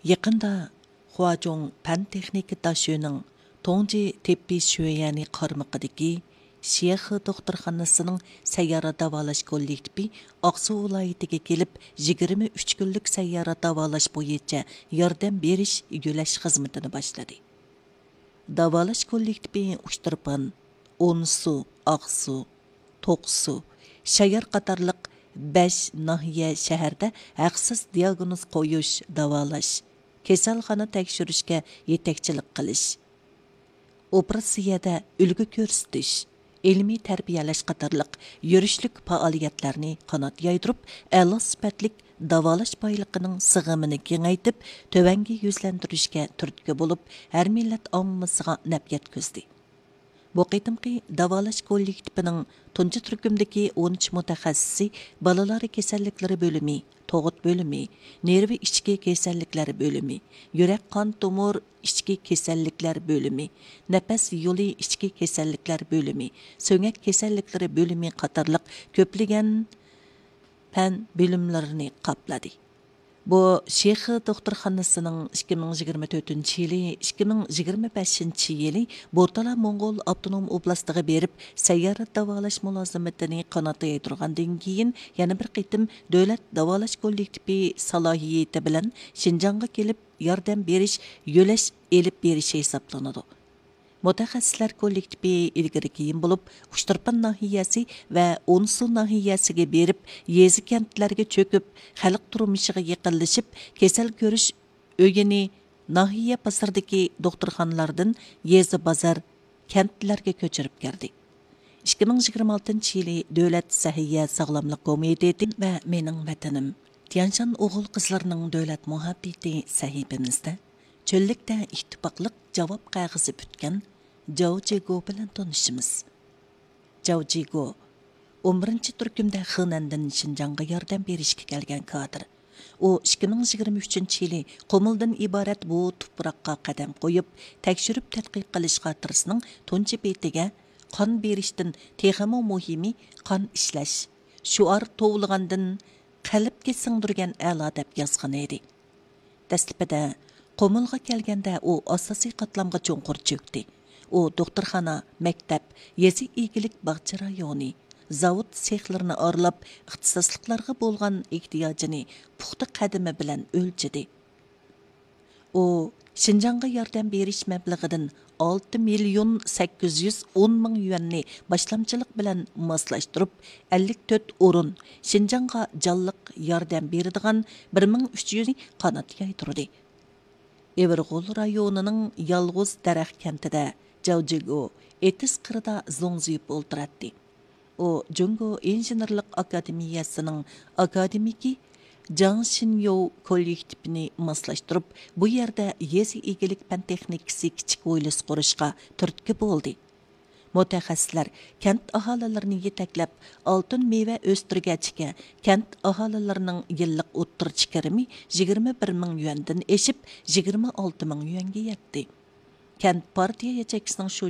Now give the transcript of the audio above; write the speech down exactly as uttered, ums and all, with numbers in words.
يېقىندا خۇاجۇڭ پەن تېخنىكا داشۆنىڭ توڭجى تېببىي شۆيەنى قارمىقىدىكى شيېخې دوختۇرخانىسىنىڭ سەييارە داۋالاش كوللېكتىپى ئاقسۇ ۋىلايىتىگە كېلىپ، يىگىرمە ئۈچ كۈنلۈك سەييارە داۋالاش بويىچە ياردەم بېرىش يۆلەش خىزمىتىنى باشلىدى. داۋالاش كوللېكتىپى ئۇچتۇرپان، ئونسۇ، ئاقسۇ، توقسۇ، شايار قاتارلىق بەش ناھىيە، شەھەردە ھەقسىز دىياگنوز قويۇش، داۋالاش، كېسەلخانا تەكشۈرۈشكە يېتەكچىلىك قىلىش، ئوپېراتسىيەدە ئۈلگە كۆرسىتىش، ئىلمىي تەربىيەلەش قاتارلىق يۈرۈشلۈك پائالىيەتلەرنى قانات يايدۇرۇپ، ئەلا سۈپەتلىك داۋالاش بايلىقىنىڭ سىغىمىنى كېڭەيتىپ، تۆۋەنگە يۈزلەندۈرۈشكە تۈرتكە بولۇپ، ھەر مىللەت ئاممىسىغا نەپ يەتكۈزدى. بۇ قېتىمقى داۋالاش كوللېكتىپىنىڭ تۇنجى تۈركۈمدىكى ئون ئۈچ مۇتەخەسسىسى بالىلار كېسەللىكلىرى بۆلۈمى، تۇغۇت بۆلۈمى، نېرۋا ئىچكى كېسەللىكلەر بۆلۈمى، يۈرەك قان تومۇر ئىچكى كېسەللىكلەر بۆلۈمى، نەپەس يولى ئىچكى كېسەللىكلەر بۆلۈمى، سۆڭەك كېسەللىكلىرى بۆلۈمى قاتارلىق كۆپلىگەن پەن بۆلۈملىرىنى قاپلىدى. بۇ شېخې دوختۇرخانىسىنىڭ ئىككى مىڭ يىگىرمە تۆتىنچى يىلى، ئىككى مىڭ يىگىرمە بەشىنچى يىلى بورتالا موڭغۇل ئاپتونوم ئوبلاستىغا بېرىپ، سەييارە داۋالاش مۇلازىمىتىنى قانات يايدۇرغاندىن كېيىن، يەنە بىر قېتىم دۆلەت داۋالاش كوللېكتىپى سالاھىيىتى بىلەن شىنجاڭغا كېلىپ، ياردەم بېرىش، يۆلەش ئېلىپ بېرىشى ھېسابلىنىدۇ. مۇتەخەسسىسلەر كوللېكتىپى ئىلگىرى كېيىن بولۇپ، ئۇچتۇرپان ناھىيەسى ۋە ئونسۇ ناھىيەسىگە بېرىپ، يېزا، كەنتلەرگە چۆكۈپ، خەلق تۇرمۇشىغا يېقىنلىشىپ، كېسەل كۆرۈش ئۆيىنى ناھىيە بازىرىدىكى دوختۇرخانىلاردىن يېزا، بازار، كەنتلەرگە كۆچۈرۈپ كەلدى. ئىككى مىڭ يىگىرمە ئالتىنچى يىلى دۆلەت سەھىيە ساغلاملىق كومىتېتى ۋە مېنىڭ ۋەتىنىم، تيەنشان ئوغۇل-قىزلىرىنىڭ دۆلەت مۇھەببىتى سەھىپىمىزدە چۆللۈكتە ئىتتىپاقلىق جاۋاب قەغىزى پۈتكەن جاۋ جىگو بىلەن تونۇشىمىز. جاۋ جىگو ئون بىرىنچى تۈركۈمدە خېنەندىن شىنجاڭغا ياردەم بېرىشكە كەلگەن كادىر. ئۇ ئىككى مىڭ يىگىرمە ئۈچىنچى يىلى قۇمۇلدىن ئىبارەت بۇ تۇپراققا قەدەم قويۇپ، تەكشۈرۈپ تەتقىق قىلىش خاتىرىسىنىڭ تۇنجى بېتىگە «قان بېرىشتىن تېخىمۇ مۇھىمى قان ئىشلەش» شوئار توۋلىغاندىن «قەلبكە سىڭدۈرگەن ئەلا» دەپ يازغان ئىدى. دەسلىپىدە قۇمۇلغا كەلگەندە ئۇ ئاساسىي قاتلامغا چوڭقۇر چۆكتى. ئۇ دوختۇرخانا، مەكتەپ، يېزا ئىگىلىك باغچە رايونى، زاۋۇت سېخلىرىنى ئارىلاپ، ئىختىساسلىقلارغا بولغان ئېھتىياجىنى پۇختا قەدىمى بىلەن ئۆلچىدى. ئۇ شىنجاڭغا ياردەم بېرىش مەبلىغىدىن ئالتە مىليون سەككىز يۈز ئون مىڭ يۈەننى باشلامچىلىق بىلەن ماسلاشتۇرۇپ، ئەللىك تۆت ئورۇن، شىنجاڭغا جانلىق ياردەم بېرىدىغان بىر مىڭ ئۈچ يۈزنى قانات يايدۇردى. ئېۋىرغول رايونىنىڭ يالغۇز دەرەخ كەنتىدە جاۋ جىگو ئېتىز قىرىدا زوڭزىيىپ ئولتۇراتتى. ئۇ جۇڭگو ئىنژېنېرلىق ئاكادېمىيەسىنىڭ ئاكادېمىكى جاڭ شىنيوۋ كوللېكتىپىنى ماسلاشتۇرۇپ، بۇ يەردە يېزا ئىگىلىك پەن تېخنىكىسى كىچىك ھويلىسى قۇرۇشقا تۈرتكە بولدى. مۇتەخەسسىسلەر كەنت ئاھالىلىرىنى يېتەكلەپ، ئالتۇن مېۋە ئۆستۈرگەچكە كەنت ئاھالىلىرىنىڭ يىللىق ئوتتۇرىچە كىرىمى يىگىرمە بىر مىڭ يۈەندىن ئېشىپ، يىگىرمە ئالتە مىڭ يۈەنگە يەتتى. كەنت پارتىيە ياچېيكىسىنىڭ شۇ